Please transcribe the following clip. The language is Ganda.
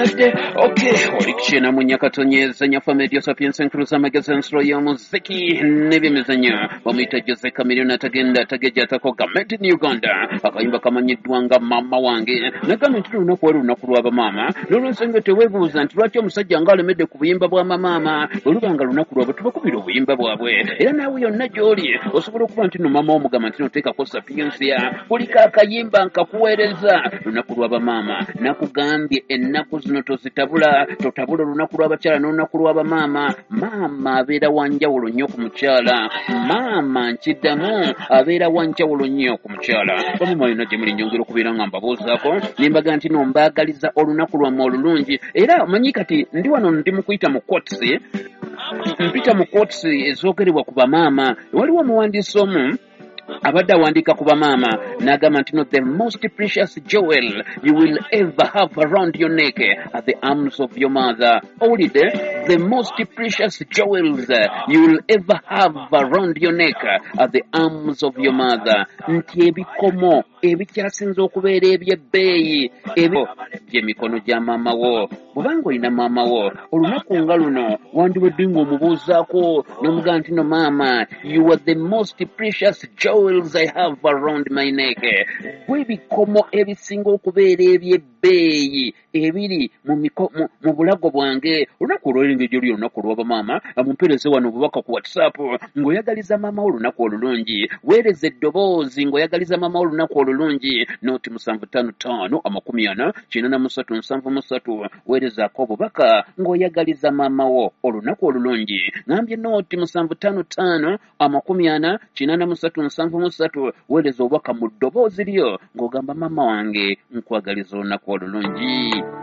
Okay, oli kukyena mu Nyakatonyeza Nyafa Media Sapiens Enkuluza Amagezi Ensolo y'Omuziki n'Ebyemizannyo. Bamuyita Jose Chameleone, atagenda atagejja atakoga, made in Uganda. Akayimba kamanyiddwa nga Maama Wange. Nagambye nti lunaku wali lunaku lw'abamaama, n'olwensonga teweebuuza nti lwaki omusajja nga alemedde ku buyimba bwa mamaama. Bwe luba nga lunaku lwabwe, tubakubira obuyimba bwabwe. Era naawe yonna gy'oli osobola okuba nti no maama omugamba nti noteekako Sapiensia, kuliko akayimba nkakuweereza. Lunaku lw'abamaama, nakugambye ennaku zino tozitabula, totabula olunaku lw'abakyala n'olunaku lw'abamaama. Maama abeera wanjawulo nnyo ku mukyala. Maama, nkiddamu, abeera wanjawulo nnyo ku mukyala. Bamama yonna gye muli, nyongera okubeera nga mbabuuzaako ne mbaga nti no mbaagaliza olunaku lwammwe olulungi. Era omanyi kati ndi wano, ndi mu kuyita mu quotes, mpita mu quotes ezoogerebwa ku bamaama. Waliwo omuwandiisi omu abadde awandiika ku bamaama n'agamba nti no, "The most precious jewel you will ever have around your neck are the arms of your mother." Owulidde? "The most precious jewels you will ever have around your neck are the arms of your mother." Nti ebikomo ebikyasinze okubeera ebyebbeeyi ebyo gy'emikono gya maama wo. Bw'obanga olina maama wo, olunaku nga luno wandibadde ng'omubuuzaako n'omugamba nti no, "Maama, you are the most precious jewels I have around my neck." Gw'ebikomo ebisinga okubeera ebyebbeeyi ebiri mu bulago bwange. Olunaku olwaleero engeri gyoli olunaku olw'abamaama, mumpeereze wano obubaka ku WhatsApp ng'oyagaliza maama wo olunaku olulungi. Weereza eddoboozi ng'oyagaliza maama wo olunaku olulungi, noti 755 40 83 73. Weerezaako obubaka ng'oyagaliza maama wo olunaku olulungi. Ngambye noti 755 40 83 73. Weereza obubaka mu ddoboozi lyo ng'ogamba, "Maama wange, nkwagaliza olunaku olulungi."